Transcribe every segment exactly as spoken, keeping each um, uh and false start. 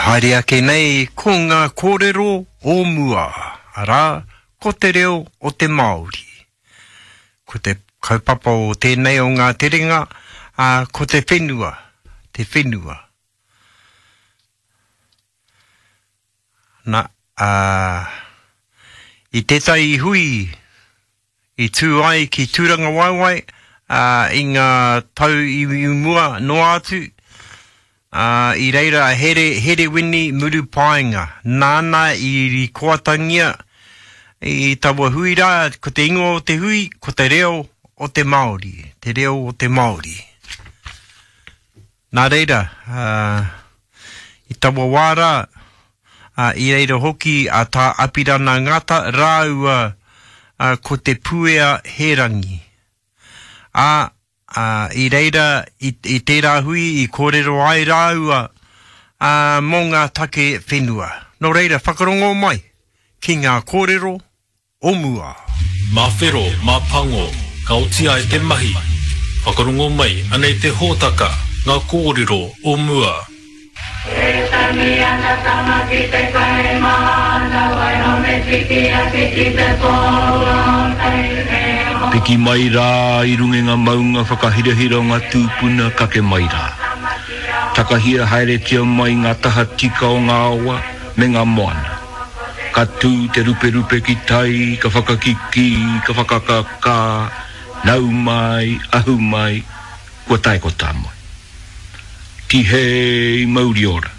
Haere ake nei ko ngā kōrero o mua, arā, ko te reo o te Māori. Ko te kaupapa o tēnei o ngā terenga, ā, ko te whenua, te whenua. Na, ā, i tētahi hui i tū ai ki Tūrangawaewae, ā, i ngā tau i mua noa atu, ā, i reira a Here, Herewini Murupaenga. Nāna i rikoatangia i taua hui rā, ko te ingoa o te hui, ko te reo o te Māori, te reo o te Māori. Nā reira, ā, i taua wā rā, ā, i reira hoki a Tā Apirana Ngata rāua ā, ko Te Puea Hērangi. Ā, ā, i reira, i, i tērā hui i kōrero ai rāua ā, mō ngā take whenua. Nō reira, whakarongo mai ki ngā kōrero o mua. Mā whero, mā pango, ka oti ai te mahi. Whakarongo mai, anei te hōtaka, ngā kōrero o mua. E tangi ana tama ki te kai mahana, waiho me tiki ake ki te pō. Piki mai rā i runga i ngā maunga whakahirahira o ngā tūpuna kake mai rā. Takahia haeretia mai ngā tahatika o ngā awa me ngā moana. Ka tū te ruperupe ki tai, ka whakakikī, ka whakakakā, nau mai, ahu mai, kua tae ko tāmoe. Tihei mauri ora.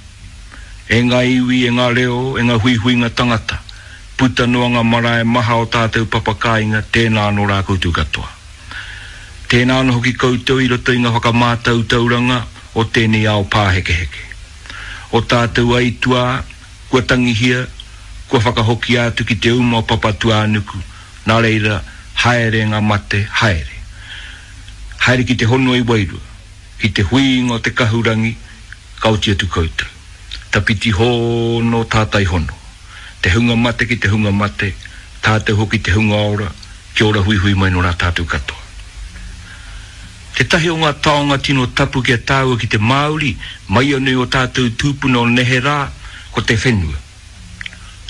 E ngā iwi, e ngā reo, e ngā huihuinga tangata, puta noa ngā marae maha o tātou papakāinga, tēnā anō rā koutou katoa. Tēnā anō hoki koutou i roto i ngā whakamātautauranga o tēnei ao pāhekeheke. O tātou aituā, kua tangihia, kua whakahokia atu ki te uma o Papatūānuku, nā reira, haere ngā mate, haere. Haere ki te hono i wairua, ki te huinga o te kahurangi, ka oti atu koutou. Tapiti hono, tātai hono. Te hunga mate ki te hunga mate, tātou hoki te hunga ora, kia ora huihui mai nō rā tātou katoa. Tētahi o ngā taonga tino tapu ki a tāua ki te Māori, mai anō i ō tātou tūpuna o neherā, ko te whenua.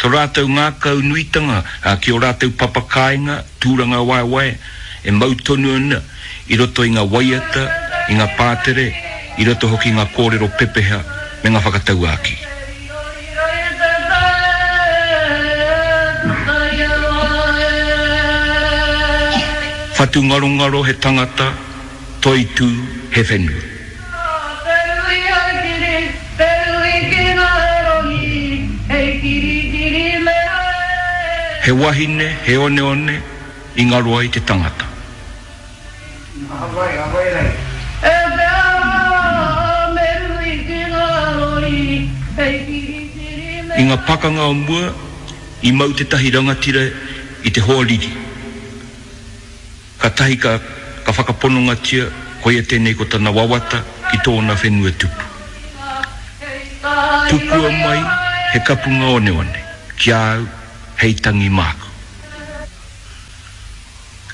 Tō rātou ngākau nuitanga ki ō rātou papa kāinga, tūrangawaewae, e mau tonu ana i roto i ngā waiata, i ngā pātere, i roto hoki i ngā kōrero pepeha me ngā whakatauākī. Whatungarongaro he tangata, toitū he whenua. He wahine, he oneone, i ngaro ai te tangata. I ngā pakanga o mua, i mau tētahi rangatira i te hoariri. Katahi ka, ka whakaponongatia, koia tēnei ko tana wawata ki tōna whenua tupu. Tukua mai he kapunga oneone ki a au hei tangi māku.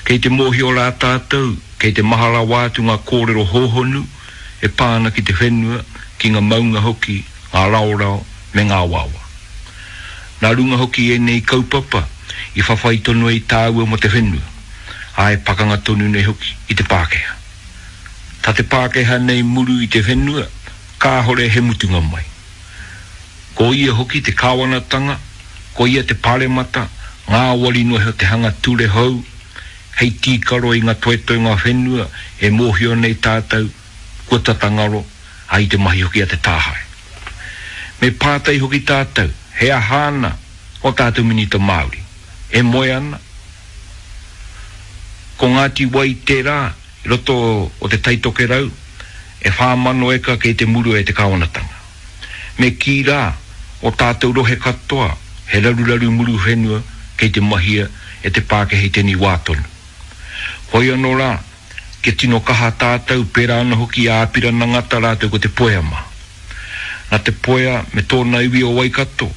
Kei te mōhio rā tātou, kei te maha rawa atu ngā kōrero hōhonu e pā ana ki te whenua, ki ngā maunga hoki, ngā raorao me ngā awaawa. Nā runga hoki i ēnei kaupapa i whawhai tonu ai tāua mō te whenua, ā, e pakanga tonu nei hoki i te Pākehā. Tā te Pākehā nei muru i te whenua, kāhore he mutunga mai. Ko ia hoki te kāwanatanga, ko ia te paremata, ngāwari noa iho te hanga ture hou hei tīkaro i ngā toetoenga whenua e mōhio nei tātou kua tata ngaro, ā, i te mahi hoki a te tāhae. Me pātai hoki tātou, he aha ana ō tātou Minita Māori? E moe ana? Ko Ngāti Wai tērā i roto o Te Tai Tokerau, e whā mano eka kei te murua e te kāwanatanga. Me kī rā, ō tātou rohe katoa, he raruraru muru whenua kei te mahia e te Pākehā i tēnei wā tonu. Hoi anō rā, kia tino kaha tātou, pērā anō hoki i a Apirana Ngata rātou ko Te Poea mā. Nā Te Poea me tōna iwi o Waikato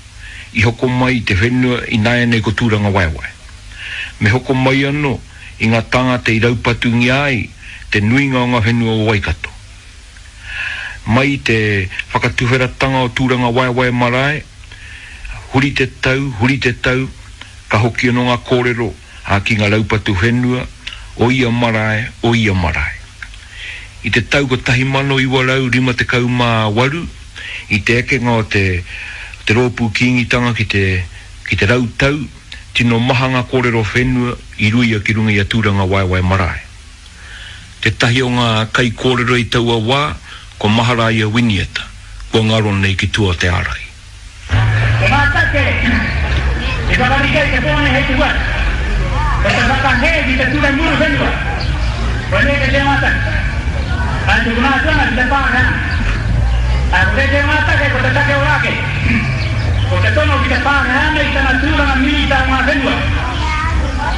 i hoko mai i te whenua ināianei ko Tūrangawaewae. Me hoko mai anō i ngā tāngata i raupatungia ai te nuinga o ngā whenua o Waikato. Mai i te whakatuwheratanga o Tūrangawaewae marae, huri te tau, huri te tau, ka hoki anō ngā kōrero ki ngā raupatu whenua o ia marae, o ia marae. I te tau kotahi mano iwa rau rima tekau mā waru, i te ekenga o te, te rōpū Kīngitanga ki te, ki te rau tau, tino maha ngā kōrero whenua i ruia ki runga i a Tūrangawaewae marae. Tētahi o ngā kaikōrero i taua wā, ko Maharaia Winiata, kua ngaro nei ki tua o te ārai. Ko ngā take i whakarite i te pō nei hei te hua, ko te whakahē ki te ture muru whenua, koinei te tēnā take. Ka tukuna atu ana ki te Pākehā. Ā, ko te tēnā take ko te take o Rākei. Ko te tono ki te Pākehā nei tana tūranga minita o ngā whenua,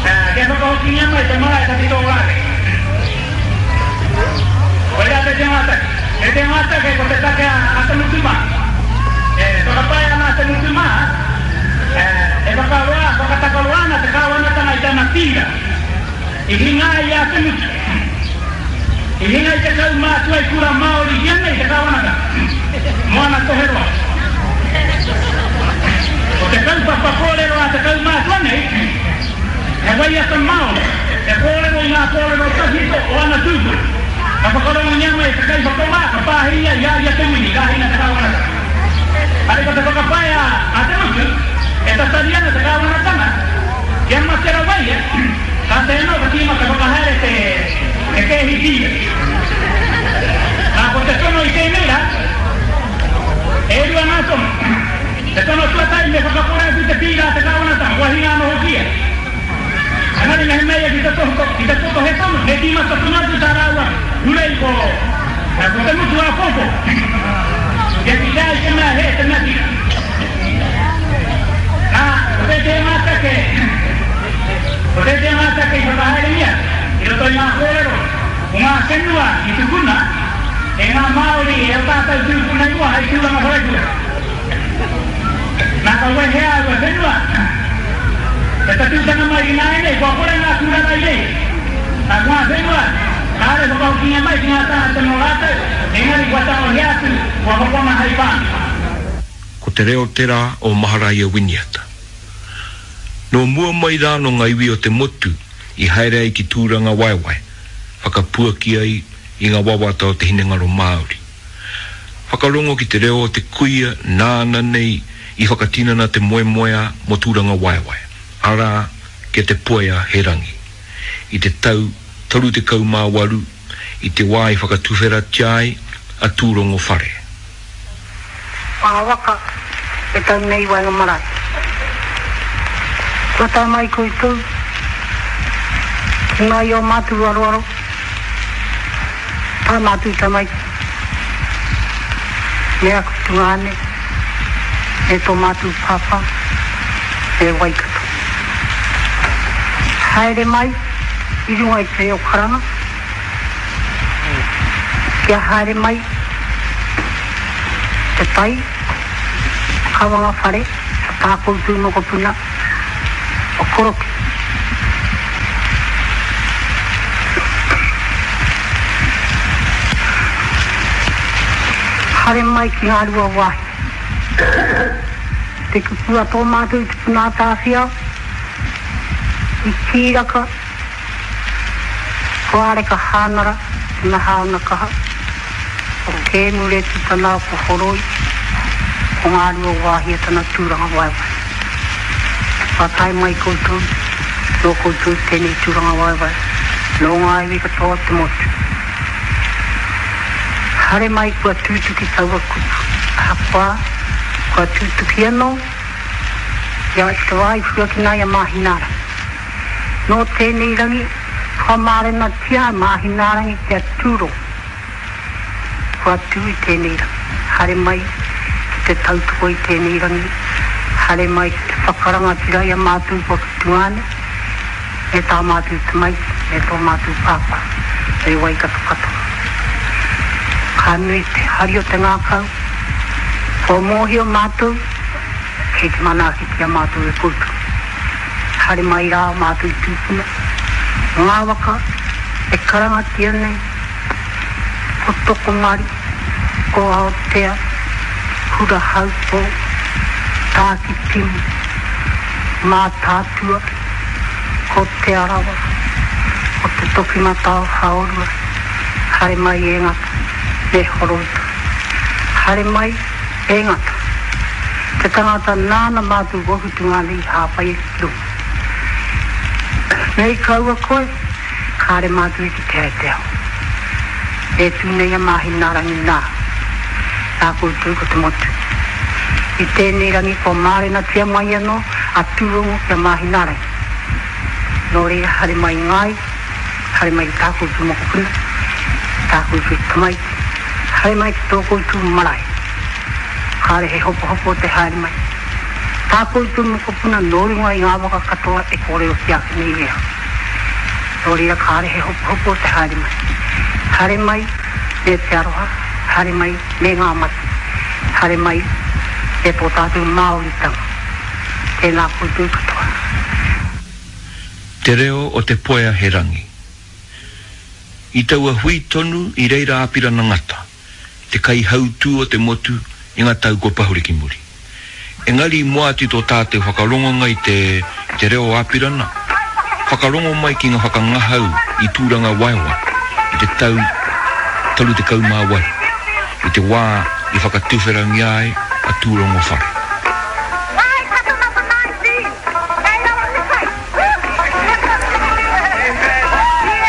ā, kia whakahokingia mai te marae tawhito o Rākei. Koirā te tēnā take. Te tēnā take ko te take a Te Mutu mā. E whakapae ana a Te Mutu mā, e whakaroa, whakatakaro ana te kāwanatanga i tana pīra i hinga ai i a Te Mutu. I hinga i te kaumātua i kura Māori ia nei te kāwanatanga mō ana toheroa. Ko te kaupapa kōrero a te kaumātua nei, he waiata Māori, he kōrero i ngā kōrero tawhito o ana tūpuna. Ka whakarongongia mai e te kaiwhakawā, ka pāhi ia i a ia te wini, ka hinga te kāwanatanga. Heoi ko te whakapae a Te Mutu, e tatari ana te kāwanatanga, kia mate rawa ia, kātahi anō ka tīmata whakahaere te kēhi pīra. Nā, ko te tono i tēnei rā, e rua ngā tono. Te tono tuatahi me whakakore atu te pīra a te kāwanatanga, kua hinga anō hoki ia. Engari mehemea ia ki te tohu, ki te totohe tonu, me tīmata tonu atu tā rāua hurei ko, ko Te Mutu āpōpō, kia kitea ai te mea hē, te mea tika. Nā, ko tētehi o ngā take, ko tētehi o ngā take i whakahaerengia i roto i ngā kōrero, ko ngā whenua i tukuna e ngā Māori e ō tātou tūpuna i mua hei tūranga wharekura. Nā, ka wehea aua whenua, Te tatūtanga mai ināianei, kua kore ngā tūranga i reira. Nā, ko ngā whenua, kāore whakahokinga mai ki ngā tāngata nō rātou, engari kua tangohia atu, kua hokona hei pānga. Ko te reo tērā o Maharaia Winiata. Nō mua mai rā nō ngā iwi o te motu i haere ai ki Tūrangawaewae, whakapuaki ai i ngā wawata o te hinengaro Māori. Whakarongo ki te reo o te kuia nāna nei i whakatinana te moemoeā mō Tūrangawaewae, arā, ki a Te Puea Herangi, i te tau toru tekau mā waru, i te wā i whakatuwheratia ai a Tūrongo whare. Ngā waka e tau nei i waenga marae. Kua tae mai koutou ki mai o mātou aroaro, tā mātou tamaiti, me aku tungāne, me tō mātou pāpā, me Waikato. Haere mai i runga i te reo karanga, kia haere mai te tai, kawanga whare, a tā koutou mokopuna, o Koroki. Haere mai ki Ngāruawāhia. Te kupu a tō mātou tupuna a Tāwhiao i Tīraka, ko Āreka Hānara te maha ona kaha, ko Kēmureti tana ko Horoi, ko Ngāruawāhia tana tūrangawaewae. Ka tae mai koutou, nō koutou tēnei tūrangawaewae, nō ngā iwi katoa o te motu. Haere mai kua tūtuki taua kupu, ahakoa kua tūtuki anō ia i te wā i huakina ai a Māhinārangi. Nō tēnei rangi, whakamārenatia a Māhinārangi ki a Tūrongo. Kua tū i tēnei rangi, haere mai ki te tautoko i tēnei rangi, haere mai ki te whakarangatira i a mātou waka tungāne, me tā mātou tamaiti, me tō mātou pāpā, me Waikato katoa. Ka nui te hari o te ngākau, kua mōhio mātou kei te manaakitia mātou e koutou. Haere mai rā ō mātou tūpuna, ngā waka e karangatia nei, ko Tokomaru, Ko Aotea, Kurahaupo, Tākitimu, Mātaatua, ko Te Arawa, ko Te Toki Matao Haorua, haere mai e Ngata, me Horouta. Haere mai e Ngata. Te tangata nāna mātou wahutunga nei hāpai e ki runga. Nei kaua koe, kāre mātou i ki te ai te ao. E tū nei a Māhinārangi nā, nā koutou ko te motu. I tēnei rangi kua mārenatia mai anō a Tūrongo ki a Māhinārangi. Nō reira, haere mai Ngāi, haere mai ki tā koutou mokopuna, tā koutou tamaiti, haere mai ki tō koutou marae. Kāre he hopohopo te haere mai. Tā koutou mokopuna nō runga i ngā waka katoa e kōrerotia ake nei e au. Nō reira, kāre he hopohopo te haere mai. Haere mai me te aroha, haere mai me ngā mate, haere mai me tō tātou Māoritanga. Tēnā koutou katoa. Te reo o Te Puea Herangi. I taua hui tonu i reira Apirana Ngata, te kaihautū o te motu i ngā tau kua pahure ki muri. Engari i mua atu i tō tātou whakarongonga i te, te reo o Apirana, whakarongo mai ki ngā whakangahau i Tūrangawaewae i te tau toru tekau mā waru, i te wā i whakatuwherangia ai a Tūrongo Whare.